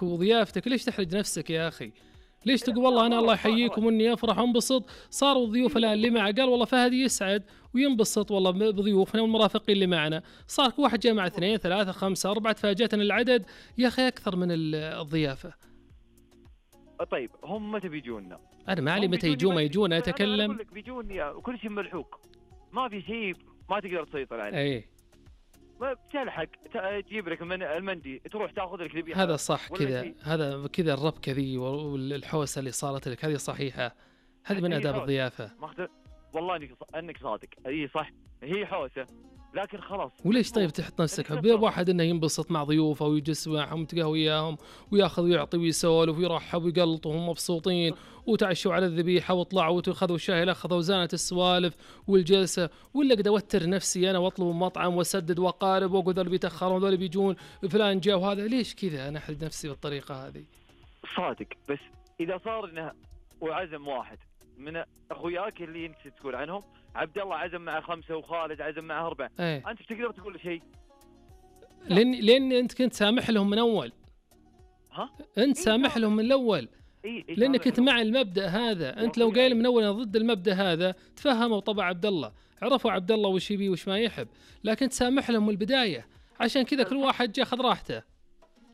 وضيافتك، ليش تحرج نفسك يا أخي؟ ليش تقول والله أنا الله يحييكم وإني أفرح وانبسط؟ صاروا الضيوف الآن اللي معه قال والله فهد يسعد وينبسط والله بضيوفنا والمرافقين اللي معنا، صار كل واحد جاء مع 2 3 5 4، تفاجأتنا العدد يا أخي أكثر من الضيافة. طيب هم متى بيجونا؟ أنا ما علي متى يجون ما يجون، أنا أتكلم. أتكلم. أقول لك بيجون وكل شيء ملحوق، ما في شيء ما تقدر تسيطر عليه. أي ما بتلحق تجيب لك من المندي تروح تاخذ لك ذبيحة. هذا صح كذا، هذا كذا الربكة ذي والحوسة اللي صارت لك هذه صحيحة، هذه من آداب الضيافة. والله انك صادق، هي صح، هي حوسة لكن خلاص. وليش طيب تحط نفسك بواحد انه ينبسط مع ضيوفه ويجلس معهم ويتقهوى وياهم وياخذ ويعطي ويسولف ويرحب ويقلط وهم مبسوطين وتعشوا على الذبيحه وطلعوا وتاخذوا الشاي الاخضر وزانت السوالف والجلسه، ولا قد اوتر نفسي انا واطلب مطعم واسدد واقارب واقول ذول بيتاخرون ذول بيجون فلان جاء وهذا، ليش كذا انا احرج نفسي بالطريقه هذه؟ صادق، بس اذا صار انه وعزم واحد من اخوياك اللي انت تقول عنهم، عبد الله عزم مع 5 وخالد عزم مع 4، انت تقدر تقول شيء؟ لان انت كنت سامح لهم من اول. ها؟ انت سامح لهم من الاول. لانك كنت مع المبدا هذا، انت لو قايل من اول انا ضد المبدا هذا تفهموا طبع عبد الله، عرفوا عبد الله وش يبي وش ما يحب، لكن تسامح لهم من البدايه، عشان كذا كل واحد جاء اخذ راحته.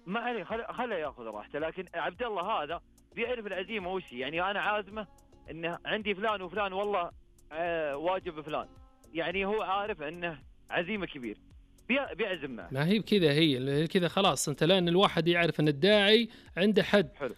ما عليه، خله ياخذ راحته، لكن عبد الله هذا بيعرف العزيمه وش يعني انا عازمه انه عندي فلان وفلان والله واجب فلان، يعني هو عارف انه عزيمه كبير بيعزم معه. ما هي بكذا، هي كذا خلاص، انت لان الواحد يعرف ان الداعي عنده حد. حلو.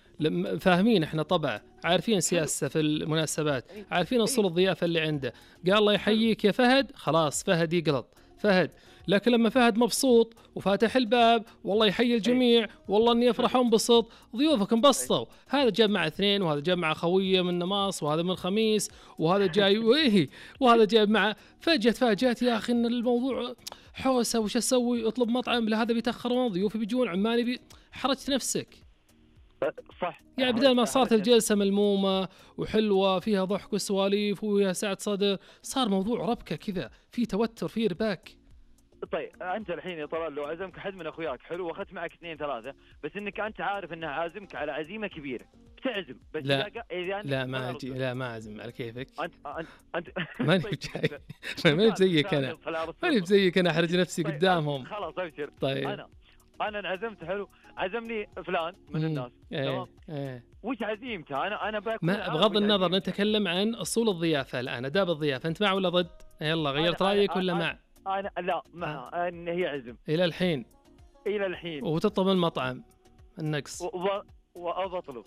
فاهمين احنا طبعا، عارفين سياسته في المناسبات، عارفين اصول الضيافه اللي عنده. قال الله يحييك يا فهد، خلاص فهد يقلط فهد. لكن لما فهد مبسوط وفاتح الباب والله يحيي الجميع والله اني افرح وانبسط، ضيوفك انبسطوا، هذا جاب مع 2 وهذا جاب مع خويه من نماص وهذا من خميس وهذا جاي وهذا جاب مع فجأة يا اخي ان الموضوع حوسه، وش اسوي؟ اطلب مطعم، لا هذا بيتاخرون ضيوفي بيجون عمالي حرجت نفسك. صح، يعني بدل ما صارت الجلسه ملمومه وحلوه فيها ضحك وسواليف وفيها سعه صدر، صار موضوع ربكه كذا، في توتر في رباك. طيب انت الحين يا طلال لو عزمك حد من اخوياك حلو واخذت معك 2 3، بس انك انت عارف انه عازمك على عزيمه كبيره بتعزم، بس لا ما اجي، لا ما اعزم على كيفك. انت ماني بجاي، ماني بزيك انا، ماني بزيك انا احرج نفسي قدامهم. خلاص ابشر. طيب انا انعزمت حلو، عزمني فلان من الناس تمام. وش عزيمته؟ انا باكل. بغض النظر نتكلم عن اصول الضيافه الان، اداب الضيافه، انت مع ولا ضد؟ يلا غيرت رايك ولا مع؟ أنا لا مع أن هي عزم إلى الحين وتطلب المطعم النقص وأطلب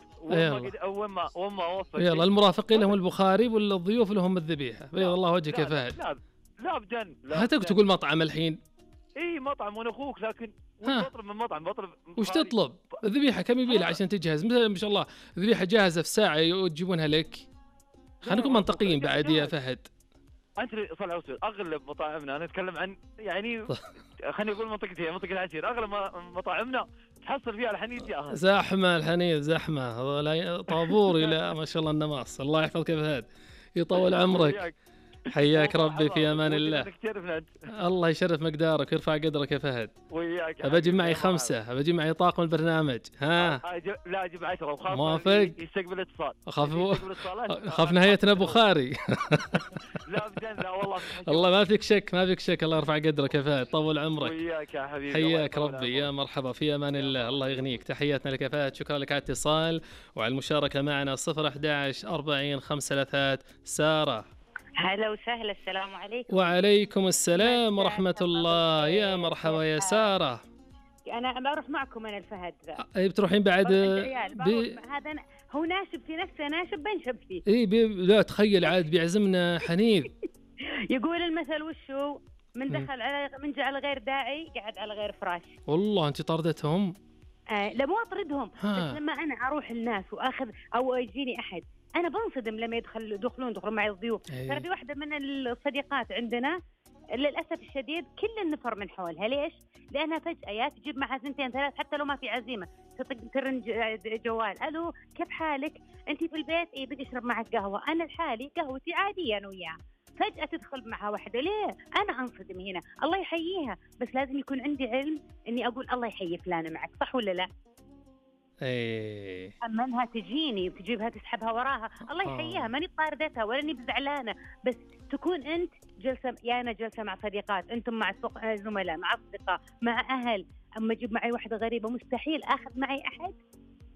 وما أوفق. يلا المرافقين لهم البخاري والضيوف لهم الذبيحة، بيض الله وجهك يا فهد. لا أبدا، هاتك تقول مطعم الحين. مطعم وأنا أخوك، لكن بطلب من مطعم بطلب. وش تطلب؟ الذبيحة كم يبيلها عشان تجهز؟ مثلا ما شاء الله الذبيحة جاهزة في ساعة وتجيبونها لك. خلينا نكون منطقيين بعد يا فهد. أنت صلى وسلم أغلب مطاعمنا، أنا أتكلم عن يعني خليني أقول منطقة العشير، أغلب مطاعمنا تحصل فيها الحنيذ جاهز. زحمة الحنيذ زحمة، طابور إلى ما شاء الله النماص. الله يحفظك يا فهد، يطول عمرك. حياك ربي في أمان الله. الله يشرف مقدارك ويرفع قدرك يا فهد. وياك. أبجي معي 5، أبجي معي طاقم البرنامج. ها لا أجيب 10 وخاف موافق. يستقبل اتصال. أخاف نهايتنا بخاري. لا أبدا، لا والله. الله ما فيك شك، ما فيك شك. الله يرفع قدرك يا فهد، طول عمرك. وياك يا حبيبي. حياك ربي، يا مرحبا في أمان الله. الله يغنيك. تحياتنا لك يا فهد، شكرا لك على الاتصال وعلى المشاركة معنا. 011 40 53 سارة. هلا وسهلا، السلام عليكم. وعليكم السلام ورحمة الله. يا مرحبا يا سارة. أنا بروح معكم أنا الفهد ذا. بتروحين بعد؟ هذا هو ناشب في نفسه، ناشب بنشب فيه. لا تخيل عاد بيعزمنا حنيذ. يقول المثل وشو؟ من دخل من جعل غير داعي قعد على غير فراش. والله أنت طردتهم؟ لا مو أطردهم، بس لما أنا أروح الناس وأخذ أو يجيني أحد أنا بنصدم لما يدخلون معي الضيوف. ترى في واحدة من الصديقات عندنا للأسف الشديد كل النفر من حولها. ليش؟ لأنها فجأة يا تجيب معها 2 3 حتى لو ما في عزيمة، ترن جوال، ألو كيف حالك؟ أنت في البيت؟ إيه بدي أشرب معك قهوة. أنا لحالي قهوتي عادية أنا وياها. فجأة تدخل معها واحدة، ليه؟ أنا أنصدم هنا. الله يحييها، بس لازم يكون عندي علم إني أقول الله يحيي فلانة معك، صح ولا لا؟ اما انها تجيني وتجيبها تسحبها وراها، الله يحييها، ماني طاردتها ولا اني بزعلانه، بس تكون انت جلسه، يا انا جلسه مع صديقات، انتم مع زملاء، مع اصدقاء، مع اهل. اما اجيب معي واحده غريبه مستحيل اخذ معي احد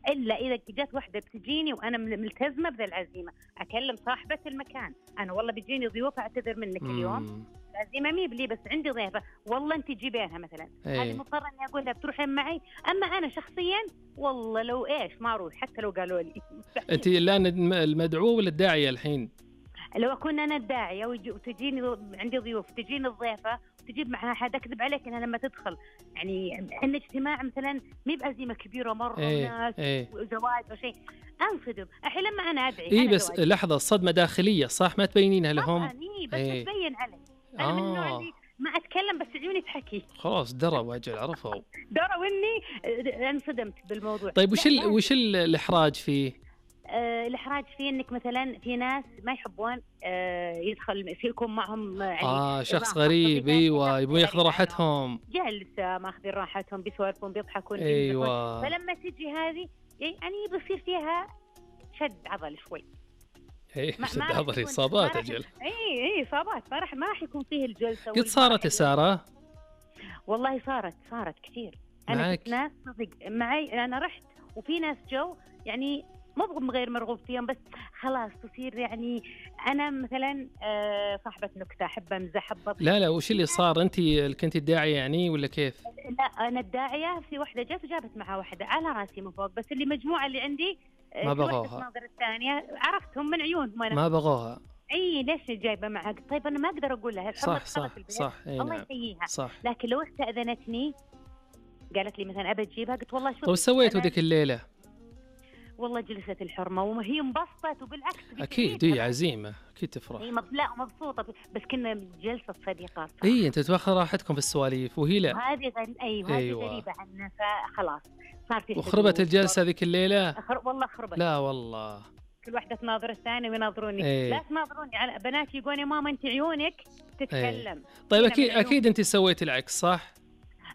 الا اذا جت واحده بتجيني وانا ملتزمه بذا العزيمه. اكلم صاحبه المكان، انا والله بيجيني ضيوف، اعتذر منك اليوم، العزيمه مي بلي بس عندي ضيفه، والله انت جيبينها مثلا، هذه مضطره اني اقول لها بتروحين معي. اما انا شخصيا والله لو ايش ما اروح حتى لو قالوا لي. انت الان المدعوه ولا الداعيه الحين؟ لو اكون انا الداعيه وتجيني عندي ضيوف، تجيني الضيفه تجيب معها حد، اكذب عليك انها لما تدخل يعني عندنا اجتماع مثلا مي بعزيمه كبيره مره وناس وزواج او شيء، انصدم الحين لما انا ادعي. بس زواج. لحظه، الصدمه داخليه صح، ما تبينينها لهم؟ بس تبين علي. انا من النوع اللي ما اتكلم بس عيوني تحكي. خلاص دروا واجل، عرفوا اني انصدمت بالموضوع. طيب وش الاحراج فيه؟ الإحراج فيه إنك مثلا في ناس ما يحبون يدخل يكون معهم يعني شخص غريب. أيوة، يبون ياخذوا راحتهم، جلسة ماخذين راحتهم، بيسولفون بيضحكون. أيوة. فلما تجي هذه يعني بيصير فيها شد عضل شوي. شد عضل، إصابات أجل. إيه إصابات، ما راح يكون فيه الجلسة. قد صارت يا سارة؟ والله صارت كثير. أنا كنت ناس صدق معي، أنا رحت وفي ناس جو يعني مو غير مرغوب فيهم، بس خلاص تصير يعني أنا مثلا صاحبة نكتة، أحب أمزح، لا وش اللي صار؟ أنت كنت الداعية يعني ولا كيف؟ لا أنا الداعية. في واحدة جت وجابت معها واحدة على راسي من فوق، بس اللي مجموعة اللي عندي ما بغوها. الناظر الثانية عرفتهم من عيونهم أنا. ما بغوها. ليش جايبة معها؟ طيب أنا ما أقدر أقول لها صح الله يحييها. صح. لكن لو استأذنتني قالت لي مثلا أبى تجيبها، قلت والله شوف. طيب سويتوا ذيك الليلة؟ والله جلسة الحرمة وهي انبسطت، وبالعكس أكيد هي عزيمة، أكيد تفرح. لا مبسوطة، بس كنا جلسة صديقات. أنت تاخذ راحتكم في السواليف وهي لا. هذه أيوة. غريبة عنا، فخلاص صار في. وخربت الجلسة ذيك الليلة؟ والله خربت. لا والله. كل واحدة تناظر الثانية ويناظروني. لا تناظروني، على بناتي يقولون يا ماما أنت عيونك تتكلم. طيب أكيد أنت سويت العكس صح؟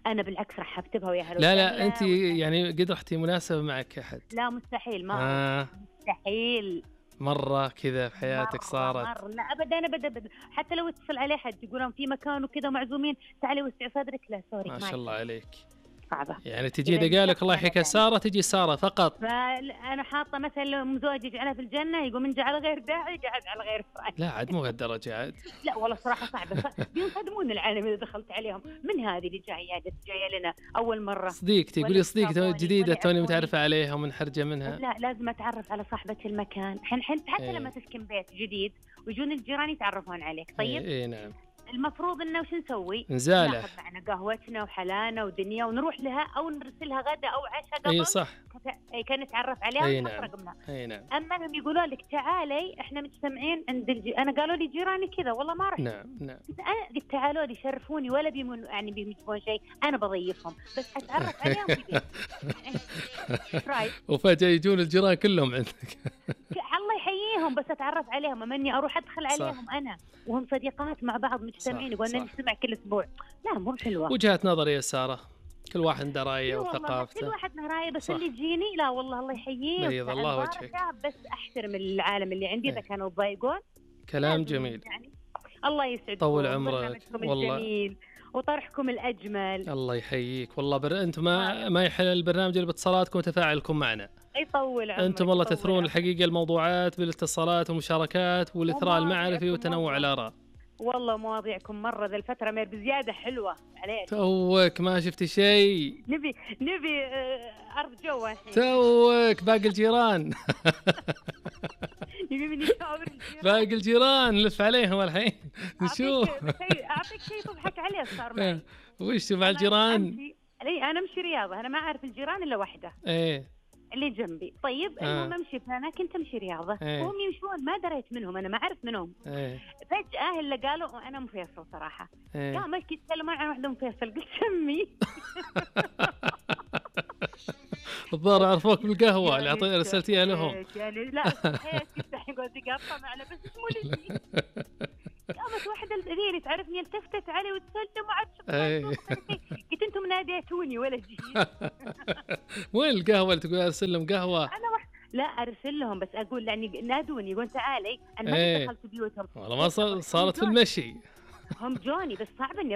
أنا بالعكس رحبت بها وياها. لا أنت يعني قد رحتي مناسبة معك أحد؟ لا مستحيل، مستحيل مرة كذا في حياتك صارت؟ لا أبدا. حتى لو اتصل عليه حد يقولون في مكان وكذا معزومين، تعالي وسعي صدرك، لا سوري ما شاء الله عليك. صعبة. يعني تجي دقالك الله يحييك سارة، تجي سارة فقط. فأنا حاطة مثلا مزوجي جعلها في الجنة، يقول من جعل غير داعي جعل على غير فاعل. لا عاد مو هالدرجة عاد. لا والله صراحة صعبة، بينصدمون العالم إذا دخلت عليهم. من هذه اللي جاية لنا أول مرة؟ صديقتي، قولي صديقتي جديدة توني متعرفة عليها ومنحرجة منها. لا لازم أتعرف على صاحبة المكان. حتى لما تسكن بيت جديد ويجون الجيران يتعرفون عليك. طيب نعم. المفروض انه وش نسوي؟ نزاله، ناخذ معنا قهوتنا وحلانا ودنيا ونروح لها، او نرسلها غدا او عشاء قبل. صح. كان نتعرف عليها ونحط رقمنا. نعم. اما هم يقولون لك تعالي احنا مجتمعين عند انا قالوا لي جيراني كذا، والله ما رحت. نعم. انا قلت تعالوا لي شرفوني، ولا يعني بيجيبون شيء، انا بضيفهم بس اتعرف عليهم في بيت. وفجأة يجون الجيران كلهم عندك. الله يحييهم، بس اتعرف عليهم، اما اني اروح ادخل عليهم انا وهم صديقات مع بعض مجتمعين يقولون نجتمع كل اسبوع. لا مو حلوه. وجهة نظري يا ساره، كل واحد عنده رايه وثقافته. كل واحد له رايه، بس اللي يجيني لا والله الله يحييه بيض الله وجهك، بس احترم العالم اللي عندي اذا كانوا يضايقون. كلام جميل يعني. الله يسعدكم، طول عمرك والله، الجميل وطرحكم الأجمل. الله يحييك والله. أنتم ما يحل البرنامج اللي باتصالاتكم وتفاعلكم معنا. يطول عمرك. أنتم والله تثرون الحقيقة الموضوعات بالاتصالات والمشاركات والإثراء المعرفي وتنوع الآراء. والله مواضيعكم مرة ذا الفترة بزيادة حلوة عليك. توك ما شفتي شيء. نبي أرض جو الحين. توك باقي الجيران. باقي الجيران نلف عليهم الحين نشوف. أعطيك شيء تضحك عليه صار معي. وش مع الجيران؟ أنا أمشي رياضة، أنا ما أعرف الجيران إلا واحدة. اللي جنبي. طيب المهم امشي، فانا كنت امشي رياضه، هم يمشون ما دريت منهم، انا ما اعرف منهم. فجاه اللي قالوا انا ام فيصل صراحه. قاموا يتكلمون عن واحده ام فيصل، قلت سمي. الظاهر عرفوك بالقهوه اللي رسلتيها لهم. يعني لا تفتح يقول تقطع معنا بس اسمه لي. قامت واحده اللي تعرفني التفتت علي وتسلم وعاد قلت انتم ناديتوني ولا جيت. وين القهوة اللي تقول أرسل لهم قهوة؟ أنا لا أرسل لهم بس أقول يعني نادوني يقول تعالي. أنا ما دخلت بيوتهم والله ما صارت في المشي. هم جوني بس صعب إني